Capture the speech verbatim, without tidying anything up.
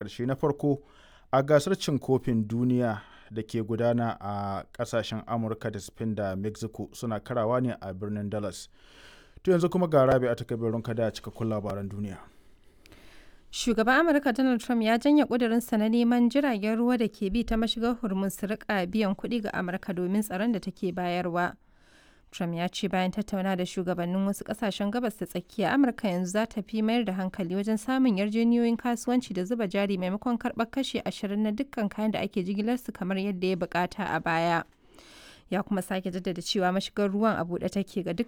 ƙarshe na farko a gasar cin kofin duniya da ke gudana a ƙasashen Amurka da Spain da Mexico suna karawa ne a birnin Dallas. To yanzu kuma ga Rabi'a ta kabirin kada cikakkun labaran duniya. Shugaban Amurka Donald Trump ya janye ƙudurinsa na neman jiragen ruwa da ke bi ta mashigar Hormuz su rika biyan kuɗi ga Amurka domin tsaron da take bayarwa. Trump ya ce bayan tattauna da shugabannin wasu ƙasashen gabas ta tsakiya, Amurka yanzu za ta fi mayar da hankali wajen samun yarjejeniyoyin kasuwanci da zuba jari maimakon karɓar kashi ashirin na dukkan kayan da ake jigilarsu kamar yadda ya bukata a baya. Ya kuma sake jaddada cewa mashigar ruwan a buɗe take ga dukkan